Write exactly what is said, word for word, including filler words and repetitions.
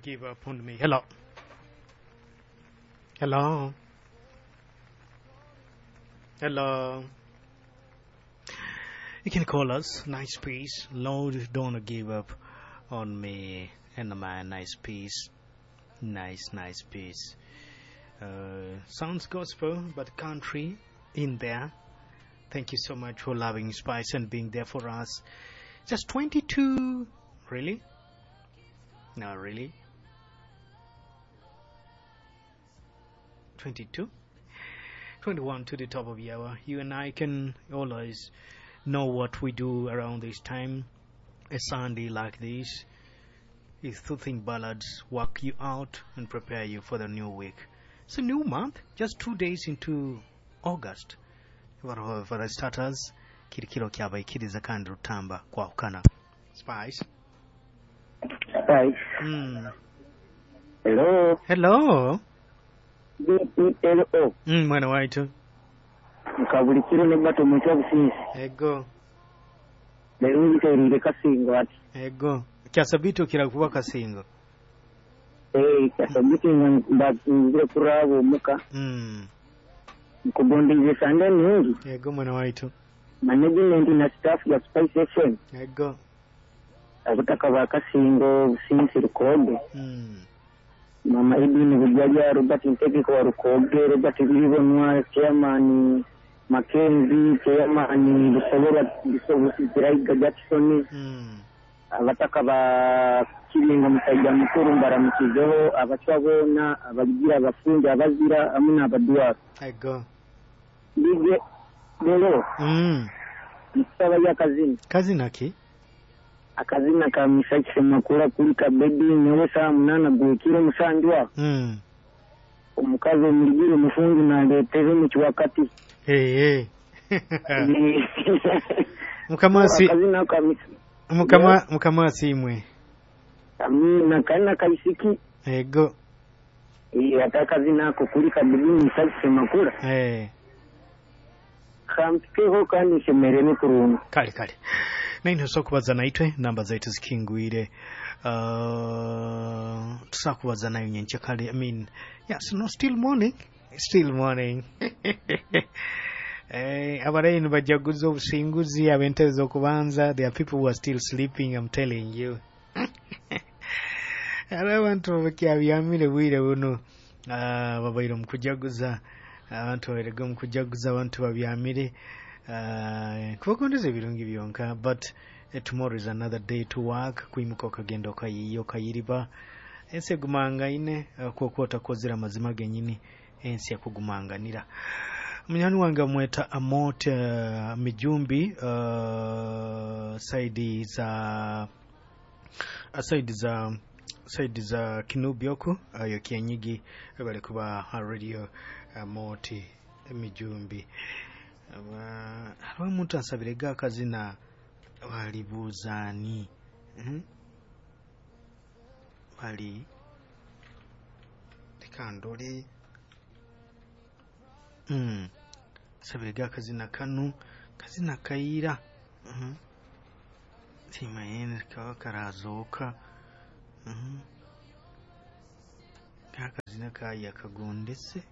Give Up on Me. Hello. Hello. Hello. You can call us. Nice piece. Lord, don't give up on me. And my nice piece. Nice, nice piece. Uh, sounds gospel, but country in there. Thank you so much for loving Spice and being there for us. Just twenty-two. Really? No, really? twenty-two? twenty-one to the top of the hour. You and I can always know what we do around this time. A Sunday like this is soothing ballads work you out and prepare you for the new week. It's a new month, just two days into August. For, for starters, kirikiro kyabaikiriza kandi rutamba kwahukana. Spice. Spice. Mm. Hello. Hello. B E L O. Mm, mwana waitu. Nkabulikiro ne bato mutwa business. Ego. Lero nterire Kasingo ati. Ego. Kyasabito kirakuba Kasingo. Eh, kyasabito ngire kurabo muka. Mm. Nkubondeze sande nungi. Ego mwana waitu. Management na staff ya Spice F M. Ego. Abutaka ba Kasingo business Rukoge. Mm. Mama Edwin Bujaja, Robert Ntegeko wa Rukoge, Robert Biribonwa, Chairman Mackenzie, Chairman Busobola Busobola Jackson. Mm. Abataka ba Kiringo musajja mukuru mbaramukizeho, abacwa bona, abagira abafundi, abazira hamwe n'abadwaro. Ego. Bige lero. Mm. Nsaba ya kazina. Kazina ki? Akazina ka Misaki Makura kuli kabedi nyowe saa munana gwekiro musanjwa. Mm. Omukazi omuligire omufundi naleetera mu kiwakati. Hey, hey. Mukama si akazina ka Mukama mukama asimwe. Amina kana kaisiki. Ego. Eh, akazina ako kuli kabedi Misaki Makura. Eh. Kampikeho kandi shemerere kurunga. Kale kale. Naino sokubaza naitwe namba zaitu zikingwire. Uh, tusakubaza nayo nyenche kale. I mean, yes, no, still morning. Still morning. Eh, abarayini bajaguza obusinguzi abentebe z'okubanza. There are people who are still sleeping, I'm telling you. Hariho abantu bakyabyamire bwire buno. Uh, babaire omu kujaguza. Abantu babairege omu kujaguza, abantu babyamire. Uh, kubakondeza ebirungi byonka, but uh, tomorrow is another day to work. Kwimuka okagenda okayiiya okayiriba. Ensi egumangaine uh, kwokuba otakozere amazima genyini, ensi ekugumanganira. Munyani wange amweta Amot uh, Mijumbi, uh, saidi za saidi za saidi za Kinubi oku ayo Kianyigi bali kuba radio Amot Mijumbi. Hariho omuntu ansabirega akazina balibuuzaani. Mm? Bali leka ndole. Mm. Sabirega akazina kanu kazina kayira. Mm. Simayene kaba karazoka. Mm. Akazina kaya kagondese.